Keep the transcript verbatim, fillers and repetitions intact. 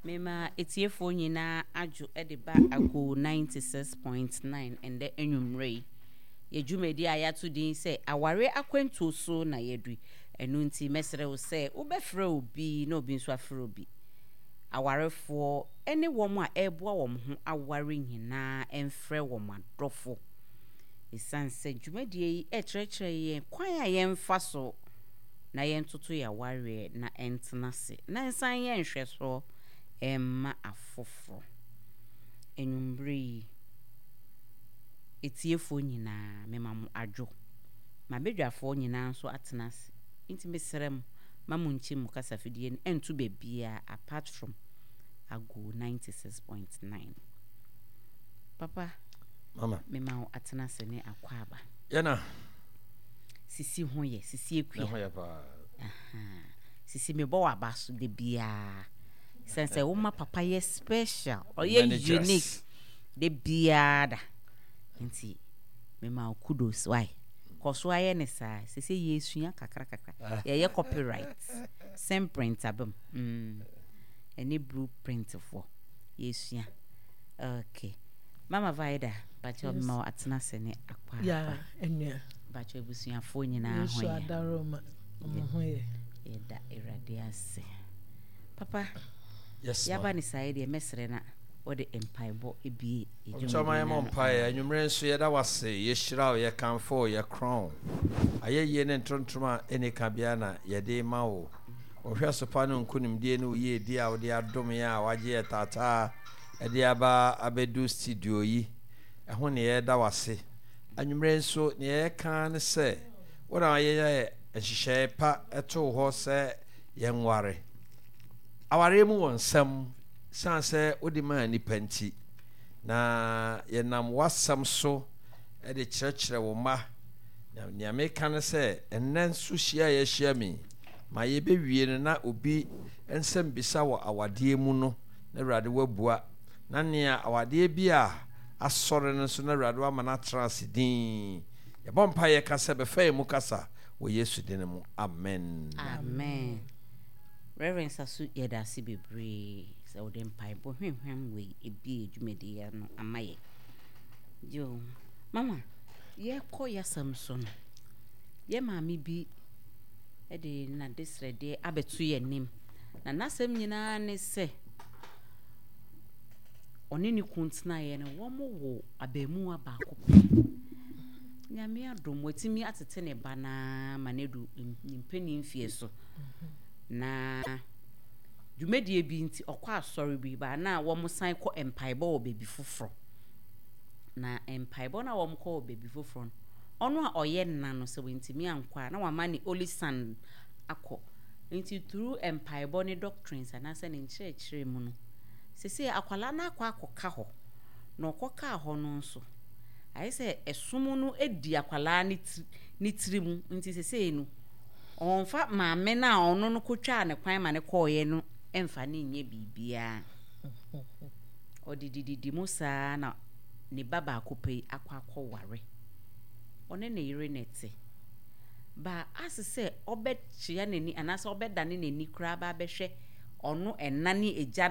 Mema etiefoɔ nyinaa adwo de ba Ago ninety six point nine ɛndɛ anwummerɛ yi. Yɛ dwumadi a yɛato din sɛ Aware Akwantuo so na yɛadu. Ɛno nti mɛsrɛ wo sɛ wobɛfrɛ obi na obi nso afrɛ obi. Awarefoɔ ne wɔn a ɛreboa wɔn ho aware nyinaa mfrɛ wɔn adɔfo. Ɛsiane sɛ dwumadie yi ɛrekyerɛkyerɛ yɛn kwan a yɛmfa so na yɛntoto yɛn awareɛ na ɛntena ase na ɛnsan yɛ nhwɛsoɔ ɛmma afoforɔ. Anwummerɛ yi, etiefoɔ nyinaa mema mo adwo. M'abadwafoɔ nyinaa nso atena ase. Nti mesrɛ mo, ma mo nkyi mo kasafidie no ɛnto baabiara apart from Ago ninety six point nine. Papa, Mama. Mema wo atena ase ne akɔ aba. Yɛna. Sisi ho yɛ, sisi ekua. Ne ho yɛ paa. Aha. Sisi mebɔ w'aba so de biara. Sɛn sɛ woma papa yɛ special, ɔyɛ unique de biara da. Nti mema wo kudos why? Kɔ so ayɛ ne saa. Sisi yɛsua kakra kakra. Yɛyɛ copyright. Same print abam. Mm. Ɛne blueprint foɔ. Yɛsua. Okay. Mama Vida, bakyɛ yes. Ma atena ase ne akɔ. Ya, enua. Bakyɛ abusuafoɔ nyinaa ho yɛ. Yesu adaroma, ɔmo ho yɛ. Yɛda Awurade ase. Papa, Yes, yaba ne saa yi deɛ mɛsrɛ na wɔde mpaebɔ ebie edwuma. Ɔtɔ yɛ mpaeɛ. Anwummerɛ nso yɛda wase, yɛhyira wo, yɛkamfo wo, yɛkorɔn wo. Ayɛyie ne ntontom a ɛni kabea na yɛde ma wo. Ɔhwɛ sopa no nkonimdie ne wo yiedie a wode adom yɛn a wagye yɛ taataa ɛde aba abɛdu studio yi. Ɛho ne yɛda wase. Anwummerɛ nso nea yɛka ne sɛ wo na yɛyɛ nhyehyɛe pa ɛtoo hɔ sɛ yɛnware. Awareɛ mu wɔ nsɛm san sɛ wode maa nnipa nti, na yɛnam w'asɛm so de kyerɛkyerɛ wo mma. Na nea meka ne sɛ ɛnnɛ nso hyia a yɛahyia mi ma yɛbɛwie no na obi nsɛm bisa wɔ awadeɛ mu no na Awurade wabua, na nea awadeɛ bi a asɔre no nso na Awurade wama no atena ase din. Yɛbɔ mpa yɛka sɛ bɛfa yɛn mu kasa wɔ Yesu din mu, amen. Amen. Reverend Sasu, yɛda ase bebree sɛ wode mpaebɔ hwehwɛm wei ebie dwumadie ano ama yɛ. Yo, mama, yɛkɔ yɛasɛm so no, yɛ maame bi de n'adesrɛdeɛ abɛto yɛn anim. Na n'asɛm nyinaa ne sɛ ɔne ne kun tenaeɛ no, wɔn wo abaamuwa baako pɛ. Nyame adom, watumi atete ne ba naa ma no adu ne mpanin mfie so. Na dwumadie bi nti ɔkɔ asɔre bi ba na wɔn san kɔ mpaebɔ wɔ baabi foforɔ. Na mpaebɔ no a wɔn kɔ wɔ baabi foforɔ no, ɔno a ɔyɛ nna no sɛ wɔntumi ankɔ a na wama ne only son akɔ. Nti through mpaebɔ ne doctrines anaasɛ ne nkyerɛkyerɛ mu no, sese akwalaa no akɔ akɔka hɔ. Na ɔkɔkaa hɔ no nso, ayɛ sɛ ɛsom no di akwalaa ne tiri ne tiri mu. Nti sese no, ɔmfa maame no a ɔno no kɔtwaa ne kwan ma ne kɔɔeɛ no mfa ne nyɛ biribiara. Ɔde dididi mu saa na ne ba baako pɛ yi akɔ akɔware. Ɔne ne yere na ɛte. Ba ase sɛ ɔbɛkyea n'ani anaasɛ ɔbɛdane n'ani koraa ba abɛhwɛ ɔno ɛna ne agya